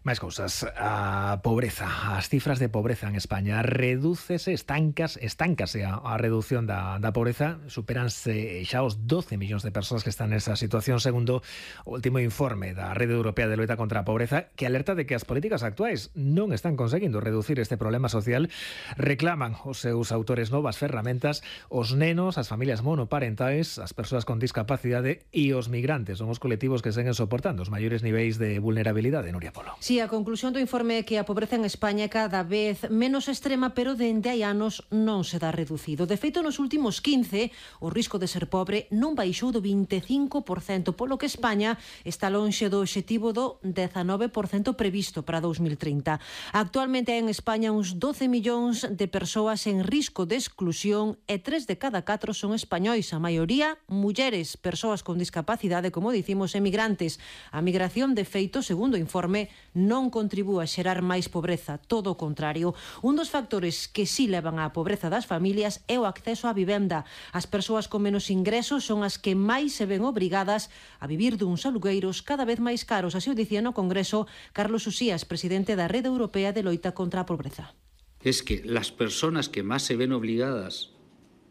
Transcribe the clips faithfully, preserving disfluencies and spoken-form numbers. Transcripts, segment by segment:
Máis cousas, a pobreza, as cifras de pobreza en España redúcese, estancas, estáncase a, a reducción da, da pobreza, superanse xa os doce millóns de persoas que están nesa situación, segundo o último informe da Rede Europea de Loita contra a Pobreza, que alerta de que as políticas actuais non están conseguindo reducir este problema social. Reclaman os seus autores novas ferramentas, os nenos, as familias monoparentais, as persoas con discapacidade e os migrantes son os colectivos que seguen soportando os maiores niveis de vulnerabilidade. Nuria Polo. Sí, a conclusión do informe é que a pobreza en España é cada vez menos extrema, pero dende hai anos non se dá reducido. De feito, nos últimos quince, o risco de ser pobre non baixou do vinte e cinco por cento, polo que España está lonxe do obxectivo do dezanove por cento previsto para dous mil trinta. Actualmente hai en España uns doce millóns de persoas en risco de exclusión e tres de cada catro son españois, a maioría mulleres, persoas con discapacidade, como dicimos, e migrantes. A migración, de feito, segundo o informe, non contribúe a xerar máis pobreza, todo o contrario. Un dos factores que sí levan á pobreza das familias é o acceso á vivenda. As persoas con menos ingresos son as que máis se ven obrigadas a vivir duns alugueiros cada vez máis caros. Así o dicía no Congreso Carlos Usías, presidente da Rede Europea de Loita contra a Pobreza. Es que las personas que más se ven obligadas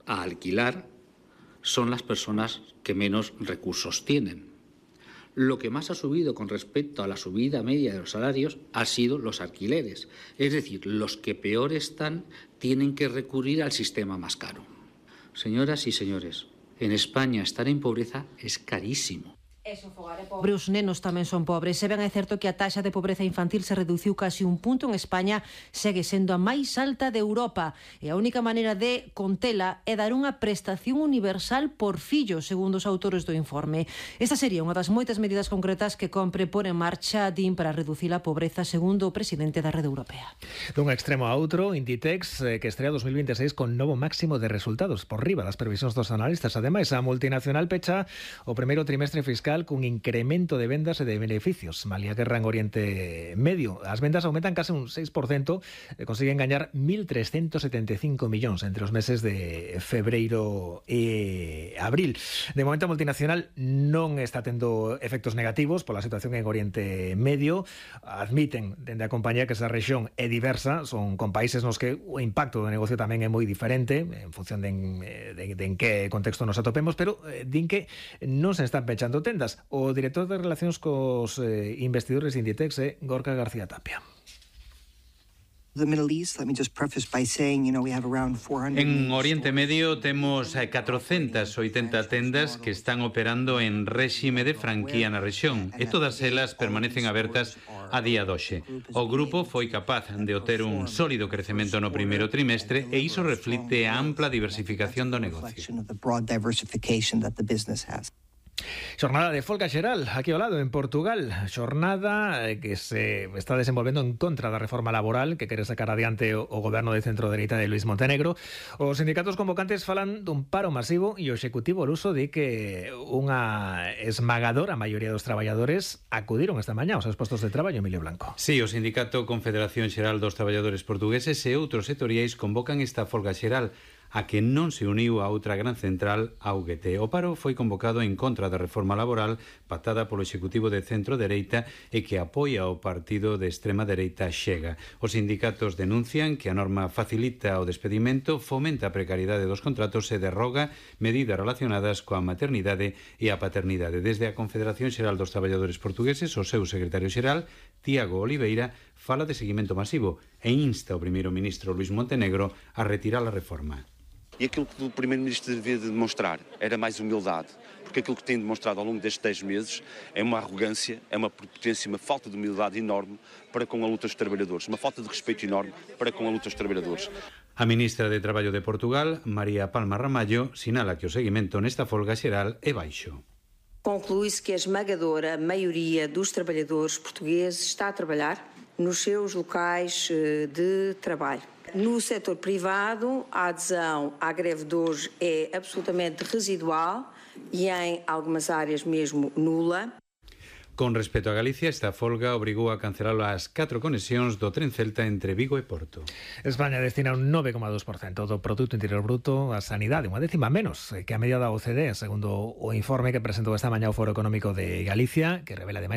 a alquilar son las personas que menos recursos tienen. Lo que más ha subido con respecto a la subida media de los salarios ha sido los alquileres. Es decir, los que peor están tienen que recurrir al sistema más caro. Señoras y señores, en España estar en pobreza es carísimo. Pobre, os nenos tamén son pobres. Se ben é certo que a taxa de pobreza infantil se reduciu casi un punto en España, segue sendo a máis alta de Europa e a única maneira de contela é dar unha prestación universal por fillo, segundo os autores do informe. Esta sería unha das moitas medidas concretas que compre por en marcha din para reducir a pobreza, segundo o presidente da Rede Europea. Dun extremo a outro, Inditex, eh, que estrea dos mil vinte e seis con novo máximo de resultados por riba das previsións dos analistas. Ademais, a multinacional pecha o primeiro trimestre fiscal cun incremento de vendas e de beneficios. Malia guerra en Oriente Medio, as vendas aumentan case un seis por cento e consiguen gañar mil trescentos setenta e cinco millóns entre os meses de febreiro e abril. De momento, a multinacional non está tendo efectos negativos pola situación en Oriente Medio. Admiten dende a compañía que esa rexión é diversa, son con países nos que o impacto do negocio tamén é moi diferente en función de en, de, de en que contexto nos atopemos, pero eh, din que non se están pechando tendas. O director de Relacións cos eh, investidores de Inditex é Gorka García Tapia. En Oriente Medio temos catrocentas oitenta tendas que están operando en réxime de franquía na rexión e todas elas permanecen abertas a día doxe. O grupo foi capaz de obter un sólido crecemento no primeiro trimestre e iso reflite a ampla diversificación do negocio. Xornada de folga xeral aquí ao lado en Portugal, xornada que se está desenvolvendo en contra da reforma laboral que quere sacar adiante o, o goberno de centro-dereita de Luís Montenegro. Os sindicatos convocantes falan dun paro masivo e o Executivo luso di que unha esmagadora maioría dos traballadores acudiron esta mañá aos seus postos de traballo. Emilio Blanco. Sí, o Sindicato Confederación Xeral dos Traballadores Portugueses e outros sectoriais convocan esta folga xeral, a que non se uniu a outra gran central, a U G T. O paro foi convocado en contra da reforma laboral pactada polo Executivo de centro-dereita e que apoia o partido de extrema-dereita Chega. Os sindicatos denuncian que a norma facilita o despedimento, fomenta a precariedade dos contratos e derroga medidas relacionadas coa maternidade e a paternidade. Desde a Confederación Xeral dos Traballadores Portugueses, o seu secretario xeral, Tiago Oliveira, fala de seguimento masivo e insta o primeiro ministro Luís Montenegro a retirar a reforma. E aquilo que o Primeiro-Ministro devia demonstrar era mais humildade, porque aquilo que tem demonstrado ao longo destes dez meses é uma arrogância, é uma prepotência, uma falta de humildade enorme para com a luta dos trabalhadores, uma falta de respeito enorme para com a luta dos traballadores. A ministra de Traballo de Portugal, María Palma Ramallo, sinala que o seguimento nesta folga xeral é baixo. Conclui-se que a esmagadora maioria dos trabalhadores portugueses está a trabalhar nos seus locais de trabalho. No setor privado, a adesão à greve de hoje é absolutamente residual e em algumas áreas mesmo nula. Con respecto a Galicia, esta folga obrigou a cancelar as catro conexións do tren Celta entre Vigo e Porto. España destina un nove coma dos por cento do Produto Interior Bruto á sanidade, unha décima menos que a media da O C D, segundo o informe que presentou esta mañá o Foro Económico de Galicia, que revela ademais